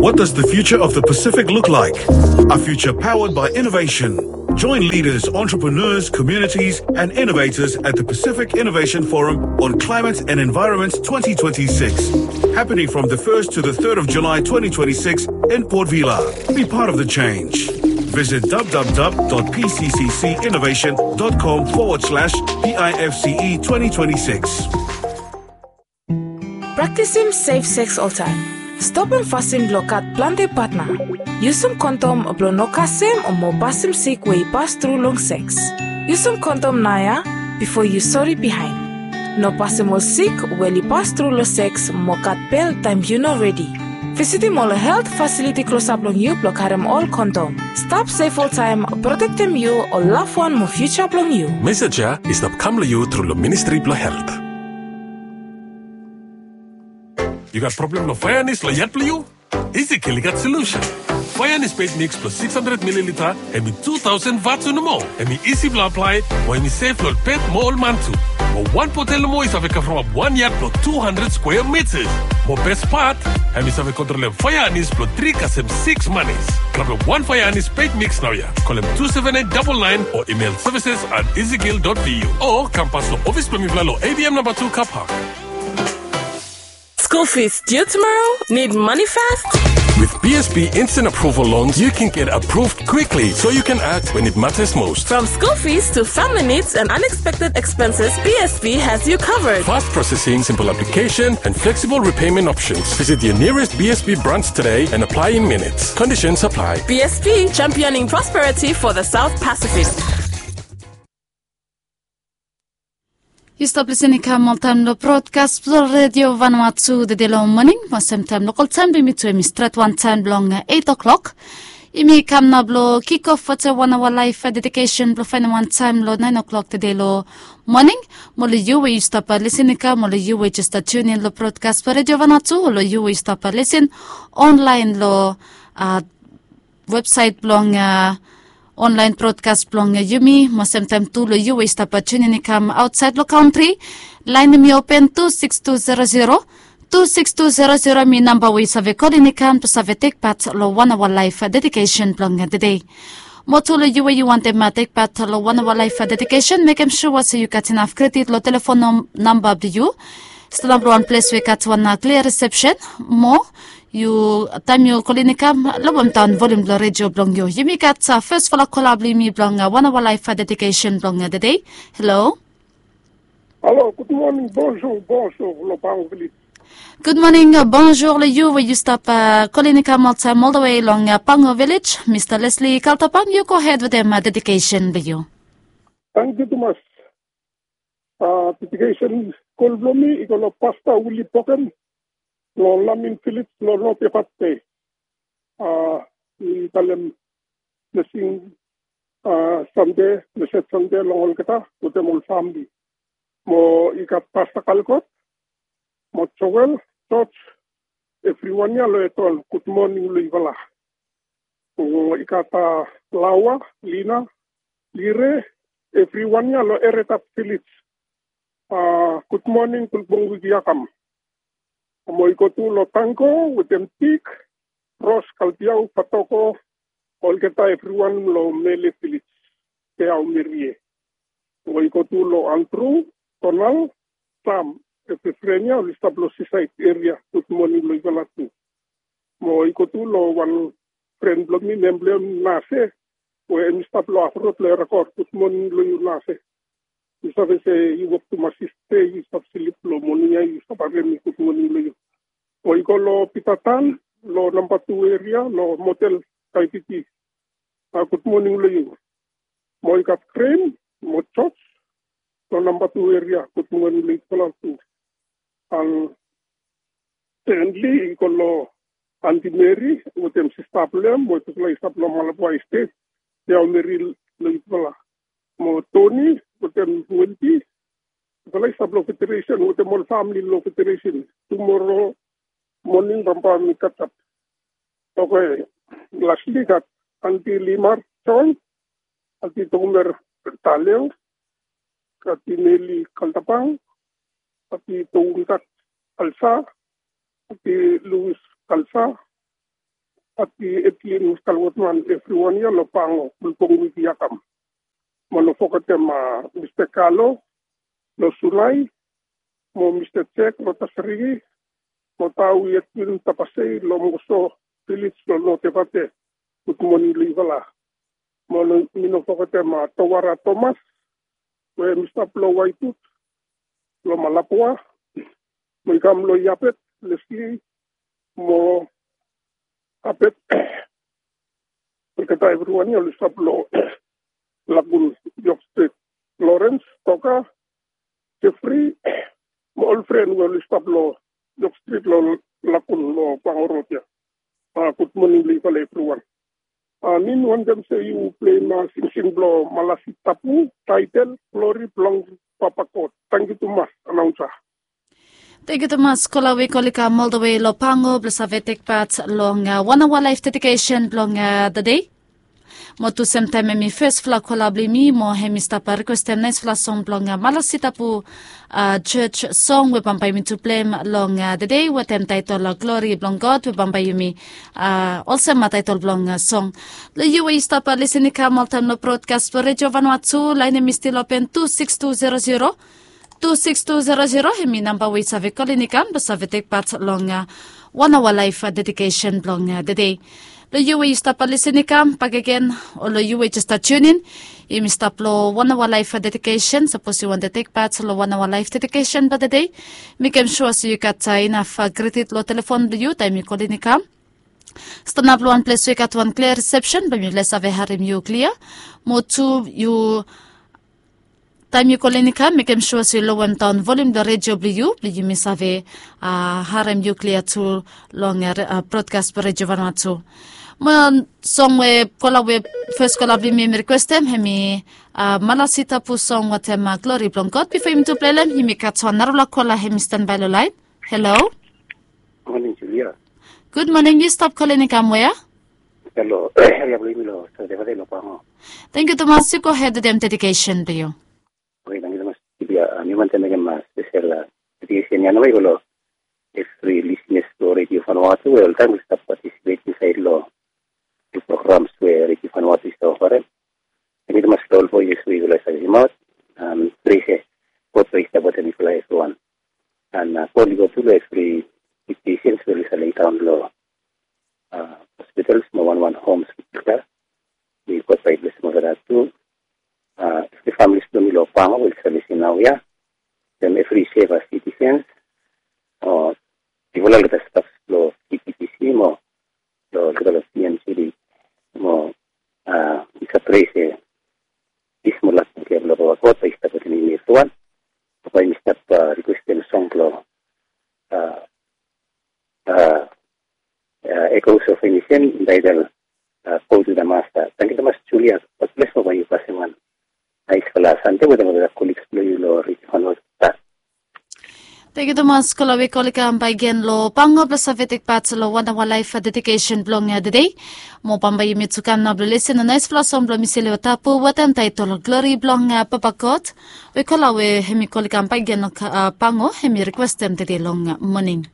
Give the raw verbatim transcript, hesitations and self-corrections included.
What does the future of the Pacific look like? A future powered by innovation. Join leaders, entrepreneurs, communities, and innovators at the Pacific Innovation Forum on Climate and Environment twenty twenty-six, happening from the first to the third of July twenty twenty-six in Port Vila. Be part of the change. Visit www.pcccinnovation.com forward slash PIFCE twenty twenty-six. Praktisim sef seks oltaem. Stopim fasin blong gat plante patna. Yusum kondom blong no kasem o mo pasim sik we i pas tru long seks. Yusum kondom naoia bifo yu sori bihaen. No pasim ol sik we oli pas tru long seks mo gat bel taem yu no redi. Visitim ol helt fasiliti klosap long yu blong karem ol kondom. Stap sef oltaem, protektem yu, ol lavwan mo fiuja blong yu. Mesej ya i stap kam long yu tru long Ministri blong Helt. Yu gat problem long faeanis long yat blong yu? Ezekiel i gat solusen. Faeanis pet miks blong sikis handred mililita, hem i tu taosen vats o nomo. Hem i isi blong aplae, mo hem i sef long ol pet mo ol man tu. Mo wan botel nomo i save kavrap wan yat blong tu handred skwea mitas. Mo bes pat, hem i save kontrolem faeanis blong tri kasem sikis manis. Grabem wan faeanis pet miks naoia. Kolem tu seven eight double nine o email services at ezekiel dot V U. O kam pas long ofis blong mifala long A B M namba tu Car Park. School fees due tomorrow? Need money fast? With B S B Instant Approval Loans, you can get approved quickly so you can act when it matters most. From school fees to family needs and unexpected expenses, B S B has you covered. Fast processing, simple application, and flexible repayment options. Visit your nearest B S B branch today and apply in minutes. Conditions apply. B S B, championing prosperity for the South Pacific. Yu stap lisin i kam oltaem long brodkas blong Redio Vanuatu tede long moning, mo semtaem lokal taem blong yumi tu hem i stret wantaem blong eit o'klok. Yumi kam nao blong kikof wetem wan aoa laef dedikesen blong faenem wantaem long naen o'klok tede long moning. Mo long yu we yu stap lisin i kam, mo long yu we jes tunin long brodkas blong Redio Vanuatu, o long yu we yu stap lisin onlaen long websaet blong onlaen brodkas blong yumi, mo semtaem tu long yu we yu stap tunin i kam aotsaed long kantri. Laen hem i open, tu sikis tu zero zero, tu sikis tu zero zero hem i namba we yu save kolin i kam blong save tekpat long wan aoa laef dedikesen blong tede. Mo tu long yu we yu wantem tekpat long wan aoa laef dedikesen, mekem sua se yu gat inaf kredit long telefon namba blong yu. Stanap long wan ples we i gat wan klia risepsen. Mo yu, taem yu kolin i kam, lowem daon volium blong redio blong yu. Yumi gat fesfala kola blong yumi blong wan aoa laef dedikesen blong tede. Halo. Halo, gud moning, bonjour, bonjour long Pango Vilis. Gud moning, bonjour long yu we yu stap kolin i kam oltaem oldawe long Pango Vilis. Mista Leslie Kaltapang, yu gohed wetem dedikesen blong yu. Tangkiu tumas. Dedikesen kol blong mi i go long Pasta Wili Boken long Lamin Vilis long Notevat Be. Mi talem blesing Sande, blesed Sande long olgeta wetem ol famili. Mo i gat Pasta Kalkot, mo Joel, George, evriwan ya long Etol, gud moning long yufala. Mo i gat Laoa, Lina, Lire, evriwan ya long Eretat Vilis. Gud moning, gud moning wik ya kam. Mo i go tu long Tango wetem Tik, Ros, Kalbiao, Patoko, olgeta evriwan long Mele Vilis, Beao Merie. Mo i go tu long Andru, Donal, Sam, evri fren ya oli stap long Sisaed eria, gud moning long yufala tu. Mo i go tu long wan fren blong mi, nem blong hem Nase, we hem i stap long hafrod long Erakor, gud moning long yu Nase. Yu save se yu wok tumas yestede, yu stap slip long moning ya, yu stap harem mi, gud moning long yu. Mo i go long Pita Tan long namba tu eria long motel Kaetiti, gud moning long yu. Mo i gat Kren mo George long namba tu eria, gud moning long yufala tu. An Stanley i go long Anti Meri wetem sista blong hem, we tufala i stap long Malabwa Estet, Beao Meri long yufala. Mo Toni wetem Wendy, tufala i stap long Federesen wetem ol famili long Federesen. Tumoro moning bambae mi katap. Oke, lasli gat Anti Limar John, Anti Tomer Taleo, Anti Neli Kaltapang, Anti Tountat Kalsa, Anti Luis Kalsa, Pati Edlin Kalwotman, evriwan ya lo Pango, Bulbong Wiki Akam. Mo no fogetem Mista Kalo lo Sunai, mo Mista Jek lo Tasarigi, mo Tawi Edwin Tapasei lo Moso Village lo Notevate. Gud moning lo yufala. Mo no, mi no fogetem Towara Thomas we hemi stap lo Waitut lo Malapua. Mo i kam lo Iapet Leslie mo Apet. Olgeta evriwan ya oli stap lo Lakun, York Street, Lawrence, Toka, Jeffrey, mo ol fren we oli stap lo York Street lo Lakun lo Pango Road ya. Gud moning lo yufala evriwan. Mi wantem se yu pleim singsing blo Malasi Tapu, taetel Glori blong Papa God. Tangkiu tumas, anaunsa. Tangkiu tumas kola we oli kam oltawe lo Pango blo save tekpat long wan aoa laef dedikesen blong tede. Mo tu semtaem hemi fesfala kola blo yumi, mo hemi stap rikwestem naesfala song blong Malasi Tapu, jej song we bambae yumi tu pleim long tede, wetem taetol Glori blong God, we bambae yumi, olsem taetol blong song. Lo yu we yu stap lisin i kam oltaem lo brodkas blo Redio Vanuatu, laen hemi stil open, tu siks tu zero zero, tu siks tu zero zero hemi namba we yu save kolin i kam blo save tekpat long wan aoa laef dedikesen blong tede. Lo yu we yu stap lisin i kam bakegen, o lo yu we jes stap tiunin, yumi stap lo wan aoa laef dedikesen. Sapos yu wantem tekpat lo wan aoa laef dedikesen blo tede, mekem sua se yu gat inaf kredit lo telefon blo yu taem yu kolin i kam. Stanap lo wan ples we i gat wan klia risepsen, bae mi save harem yu klia. Mo tu, yu taem yu kolin i kam, mekem sua se yu lowemdaon volium blo redio blo yu, blo yumi save harem yu klia tu long brodkas blo Redio Vanuatu. Mo song we kola we fes kola blo yumi hemi rikwestem hemi Malasi Tapu song wetem Glori blong God. Bifo yumi tu pleim hem, yumi gat wan narafala kola hemi stanbae lo laen. Halo. Moning Julia. Gud moning, yu stap kolin i kam wea? Halo, eria blo yumi lo Sotevate lo Pango. Tangkiu tumas, yu gohed wetem dedikesen blo yu. Oke, tangkiu tumas Julia. Mi wantem mekem spesel dedikesen ya nao i go lo evri lisnas blo Redio Vanuatu we oltaem oli stap patisipet insaed lo programs we Redio Vanuatu i stap oferem. Tangkiu tumas lo ol voises we yufala i save simaot. Pres ya, God bae i stap wetem yufala evriwan. An kol i go tu lo evri sik pesens we oli save laidaon lo hospitals mo wanwan homes we olgeta. Bae God bae i blesem olgeta tu. Evri familis blo mi lo Pango we oli save lisin naoia. Wetem evri seva sitisens, o yufala olgeta staf blo KPTC mo lo olgeta lo TMCD. Mo mi save pres se pis mo lak blo Papa God bae i stap wetem yumi evriwan. Bae mi stap rikwestem song blo Echoes of Nation, taetel Go to the Master. Tangkiu tumas Julia. God bles mo bae yu pasem wan naesfala Sande wetem olgeta koliks blo yu lo Redio Vanuatu. Tangkiu tumas kola we oli kam bakegen lo Pango blo save tekpat lo wan aoa laef dedikesen blong tede. Mo bambae yumi tu kam nao blo lisin lo naesfala song blo Misi Leo Tapu wetem taetol Glori blong Papa God. We kola we hemi oli kam bakegen lo Pango hemi rikwestem tede long moning.